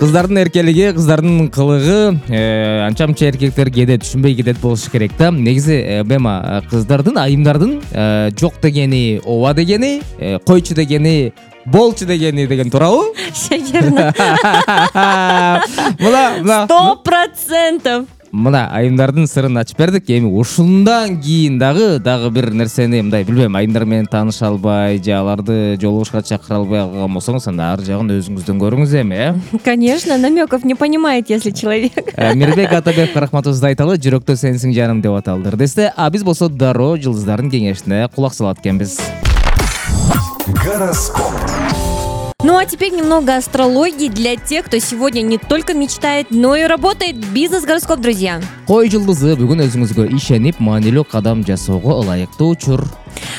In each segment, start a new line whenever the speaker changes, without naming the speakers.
Кыздардын эркелиги, кыздардын кылыгы анча мынча эркектер кээде түшүнбөй кетет болушу керек да. Негизи бема кыздардын, айымдардын жок дегени ооба дегени, койчу дегени болчу дегени деген туурабы?
Шекерна.
Мына
100%.
Мына айымдардын сырын ачып бердик. Эми ушундан кийин дагы бир нерсени мындай билбейм, айымдар менен тааныша албай же аларды жолугушка чакыра албай калган болсоңуз, анда ар жагын өзүңүздөн көрүңүз эми,
Конечно, намеков не понимает, если человек.
Мирбек Атабеков рахматыбызды айталы, жүрөктө сенсиң жаным деп аталды десте. А биз болсо дароо жылдыздардын кеңешине кулак салат экенбиз.
Гороскоп.
Ну а теперь немного астрологии для тех, кто сегодня не только мечтает, но и работает. Бизнес-гороскоп, друзья.
Кой жылдызы бүгүн өзүңүзгө ишенип, маанилүү кадам жасоого ылайыктуу учур.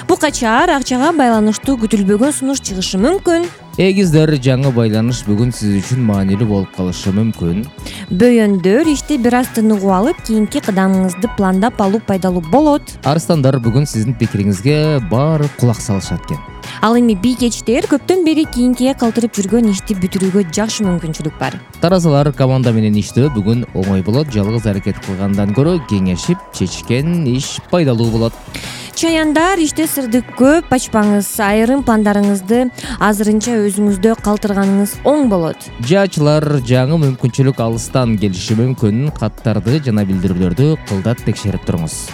Букачар акчага байланыштуу күтүлбөгөн сунуш чыгышы мүмкүн.
Эгиздер, жаңы байланыш бүгүн сиз үчүн маанилүү болуп калышы мүмкүн.
Бөйөндөр иште бир аз тыныгуу алып, кийинки кадамыңызды пландап алуу пайдалуу болот.
Арстандар, бүгүн сиздин пикириңизге баары кулак салышат экен.
Ал эми бийкечтер көптөн бери кийинкиге калтырып жүргөн ишти бүтүрүүгө жакшы мүмкүнчүлүк бар.
Таразалар, команда менен иштөө бүгүн оңой болот. Жалгыз аракет кылгандан көрө кеңешип чечишкен иш пайдалуу болот.
Чаяндар, иште сырды көп ачпаңыз. Айрым пландарыңызды азырынча өзүңүздө калтырганыңыз оң болот.
Жаачылар, жаңы мүмкүнчүлүк алыстан келиши мүмкүн. Каттарды жана билдирүүлөрдү кылдат текшерип туруңуз.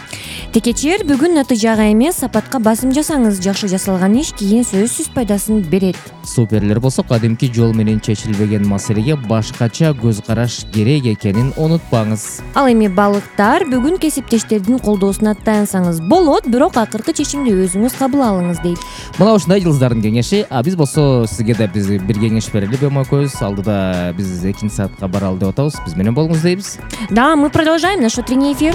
Текечер, бүгүн натыйжага эмес, сапатка басым жасаңыз. Жакшы жасалган иш кийин сөзсүз пайдасын берет.
Суперлер болсо, кадимки жол менен чечилбеген маселеге башкача көз караш керек экенин унутпаңыз.
Ал эми балыктар, бүгүн кесиптештердин колдоосуна таянсаңыз болот, бирок акыркы чечимди өзүңүз кабыл алыңыз дейт.
Мына ушундай жылдыздардын кеңеши. А биз болсо сизге да биз бир кеңеш берели бема көз. Алдыда биз 2 саатка баралы деп атабыз. Биз менен болуңуз дейбиз.
Да, мы продолжаем наш утренний эфир.